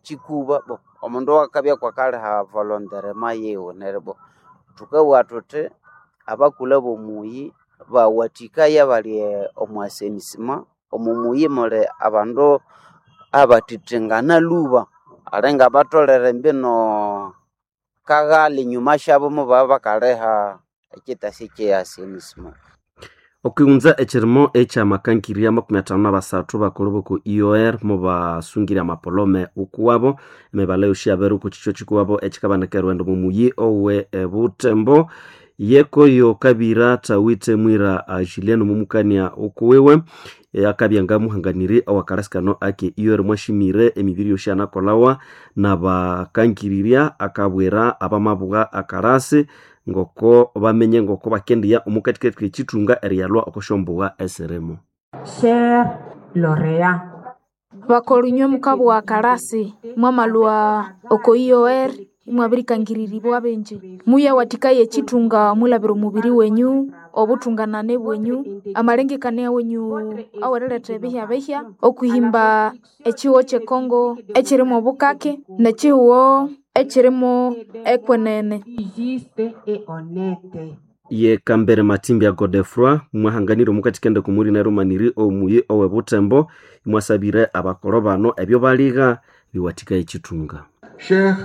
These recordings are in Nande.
Chikuba bo omundu akabya kwakaliha volontairement yiwe neryo bo thukabugha thuthi abakulhu abomuyi bawathikaya abali omu assainissement. Omo muyi muli abandu abathithingana lhuba alinga batholere mbino kaghali enyuma syabo mubabya bakaliha ekyitasi kye assainissement. Okwighunza ekirimo eky'amakangirya 53 bakulu boko IOR mubasungire amapolome ukuwabo emibala yosi yabere oko kikyo kikuwabo ekikabanika erwendo mumuyi owe ebutembo yekoyo kabira thawithe mwira Julienne mumukania ukuwiwe akabya ngamuhanganiri owakalasikano ake IOR mwashimire emibiri yosi anakolawa nabakangirirya akabwira abamabugha akarasi ngoko bamenye ngoko bakendiya omukatikati k'ekithunga eriyalwa okosyombuga esirimu. Cher lauréat, Bakolinywe mukabugha akarasi mwamalhwa oko IOR imwabirikangiriribwa bingi. Muyawathikaya ekithunga mwilhabira omubiri wenyu, obuthunganane bwenyu, amalengekania wenyu aweriletha ebihyabihya, okwihimba ekihugho kyekongo ekyirimo obukake nekyihugho ekyirimo ekwenene. juste et honnête. Ye Kambere Matimbya Godefroy mwahanganire omukathikende kumuli nerumaniri omuyi owe Butembo mwasabire abakolo bano ebyo baligha biwathikaya ekithunga. Chers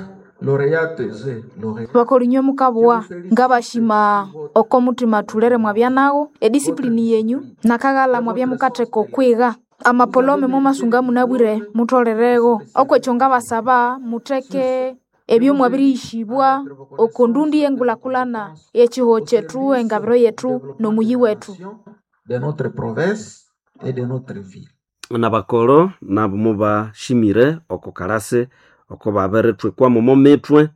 lauréates et lauréats, Bakolinywe mukabugha ngabashima oko muthima thulere mwabya nagho, edisipulini yenyu nakaghalha mwabya mukatheka okwigha. Amapolome mwamasunga munabwire mutholeregho. Okwekyo ngabasaba mutheke ebyo mwabiriyishibwa oko ndundi yengulhakulhana eyekihugho kyethu, engabiro yethu nomuyi wethu. de notre province et de notre ville. Nabakolo nabo mubashimire oko kalasi oko babirithwikwamu omo mithwe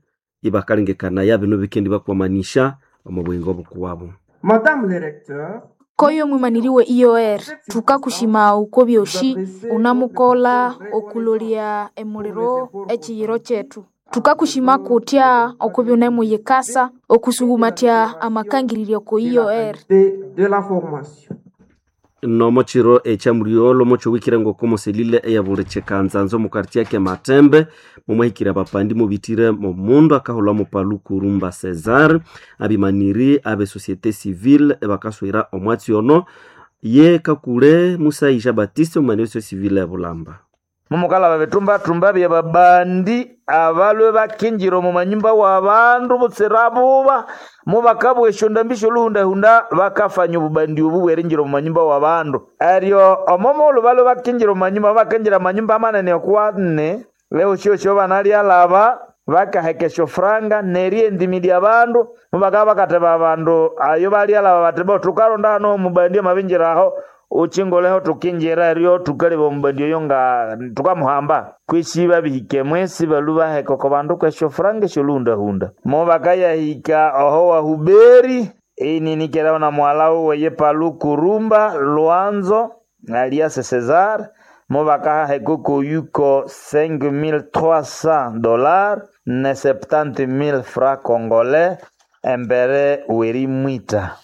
ibakalengekanaya bino bikendi bakwamanisha omo buyingo obukuwabo. Madame le recteur, Koyo mwimaniri we IOR thukakushima okwa byosi unamukolha okulolya emuliro ekiyiro kyethu. Thukakushima kutya okubya iwunemuyikasa okusuhumatya amakangiriryo oko de la IOR. qualité de la formation. Nomo kiro ekyamulyolho mokyowikire ngoko moselile eyabuli kyikanzanza omu quartier ke Matembe momwahikire abapandi mubithire momundu akahulha mopaluku Rumba Cesar abimaniri abe société civile ebakaswira omwatsi ono ye kakule Musayi Jean Baptiste omumaniri société civile ebulamba. Mumukalaba bitumbatumba byababandi abalwe bakinjira omu manyumba w'abandu butsira buba mubakabwa esyondambi syoluhundahunda bakafanya obubandi obu bwerinjira omu manyumba w'abandu eryo omo mughulhu balwe bakinjira omu manyumba bakinjira amanyumba amanene okwane leo syosyo banalyalaba bakaheka esyofuranga neriyendimilya abandu mubakabya bakateba abandu ayo balyalaba bati bo thukaronda hano omubandi amabinjira aho uchingoleho tukinjira eryo tukaleba omubandi oyo nga tukamuhamba kwisi babihike mwesi balu baheka oko bandu kwesyofuranga esyoluhundahunda mubakayahika oho wahuberi ininikeraho na muhala wuwe paluku Rumba Lwanzo alias Cesar mubakahaheka okoyuko 5300 dollars ne 70000 francs congolais embere werimwita.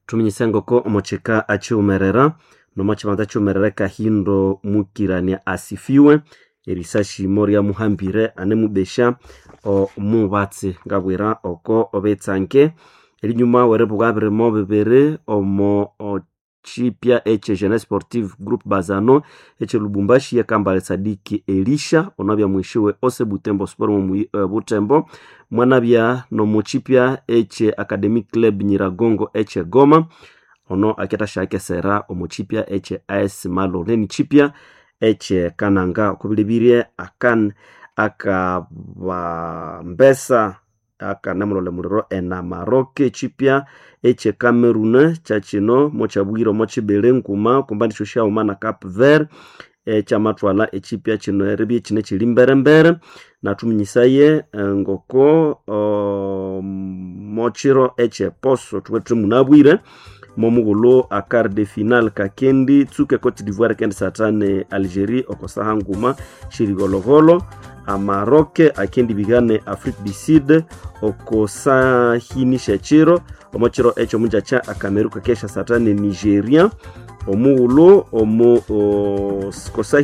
Thuminyise ngoko omukyika akyiwumerera nomo kyibanza kyiwumerera Kahindo Mukirania asifiwe erisasi ryamuhambire anemubesya omubatsi ngabwira oko obetsange erinyuma weribugha birimo bibiri omo kyipya ekye Jeunesse Sportive Group Bazano ekye Lubumbashi yekambale Sadiki Elisha onabya mwishiwe ose Butembo Sport mu Butembo mwanabya nomukyipya ekye Academic Club Nyiragongo ekye Goma ono akethasyakesera omukyipya ekye AS Malone nikyipya ekye Kananga okubilibirye akan akabambesa akanamulole muliro enamarok ekyipya ekye Cameroon kyakyino mokyabwire omo kibiri nguma kumba nikyo syaghuma na Cape Verde ekyamathwalha ekyipya kino eribya kine kiri mberembere nathuminyisaye ngoko mokyiro ekyeposo thubwethe munabwire momughulhu a quart de finale kakendi tsuka Cote d'Ivoire kendi satane Algerie oko saha nguma shirigologolo Amaroc akendi bigane Afrique du Sud oko sahini syekiro omokiro ekyo omunjakya Acameroon kakesha satane Nigeria omughulhu omu kosahi.